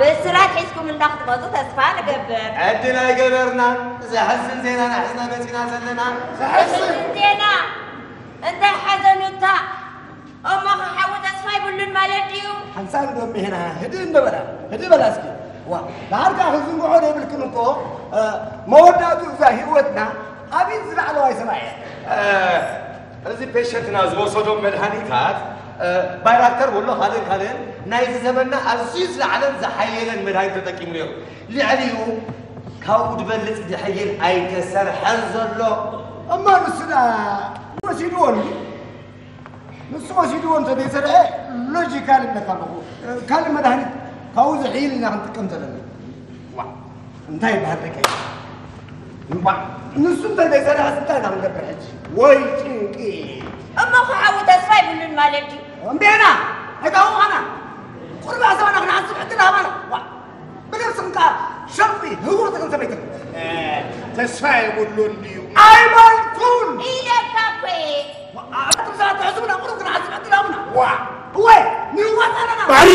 ብስራት ሒዝኩም እንዳክትመፁ ተስፋ ንገብር። ዕድል ኣይገበርናን። ዘሕዝን ዜና ኢና ሒዝና መፂና ዘለና። ዘሕዝን ዜና? እንታይ ሓዘኑታ? እሞ ከሓዊ ተስፋ ይብሉን ማለት ድዩ? ሓንሳብ ዶ ሜና ህድእ እንበላ፣ ህድእ በላ እስኪ። ዋ፣ ዳርካ ክዝንግዖ ዘይብልክን እኮ፣ እ፣ መወዳእቱ እዛ ህይወትና ኣብይ ዝለዓለዋይ ሰማይ እያ። እ፣ እዚ ፔሸንትና ዝወሰዶም መድሃኒታት፣ እ፣ ባይራክተር ወሎ ካልእን ካልእን ናይዚ ዘመንና ኣዝዩ ዝለዓለን ዝሓየለን መድሃኒት ተጠቂሙ ነይሩ። ልዕሊኡ ካብኡ ዝበልጽ ድሕይል ኣይተሰርሐን ዘሎ። እማ ንሱ ደኣ ወሲድዎ እንዲ? ንሱ ወሲድዎ እንተ ዘይሰርሐ ሎጂካል እብለካ ኣለኹ። ካልእ መድሃኒት ካብኡ ዝሕይል ኢና ክንጥቀም ዘለና። ዋ፣ እንታይ ይበሃል ደቀይ? ዋ፣ ንሱ እንተ ዘይሰርሐስ እንታይ ኢና ክንገብር ሕጂ? ወይ ጭንቂ። እሞ ከሓዊ ተስፋ ይብሉን ማለት ድዩ? እምቤና፣ ኣይታወቓና። ቁርባ ሰባና ክንሓስብ ዕድል ሃባና። ዋ፣ ብነብስኽን ከኣ ሸምቢ ህውርትኽን ሰበይትኽን። እ፣ ተስፋ የብሉን ድዩ? ኣይበልኩን። ኢለካ እኮ እየ። ዋ፣ ኣቱም ሰባት ትሕስቡና ቁሩብ ክንሓስብ ዕድል ሃቡና። ዋ፣ እወ፣ ንዋጣ ኣለና። ባሪ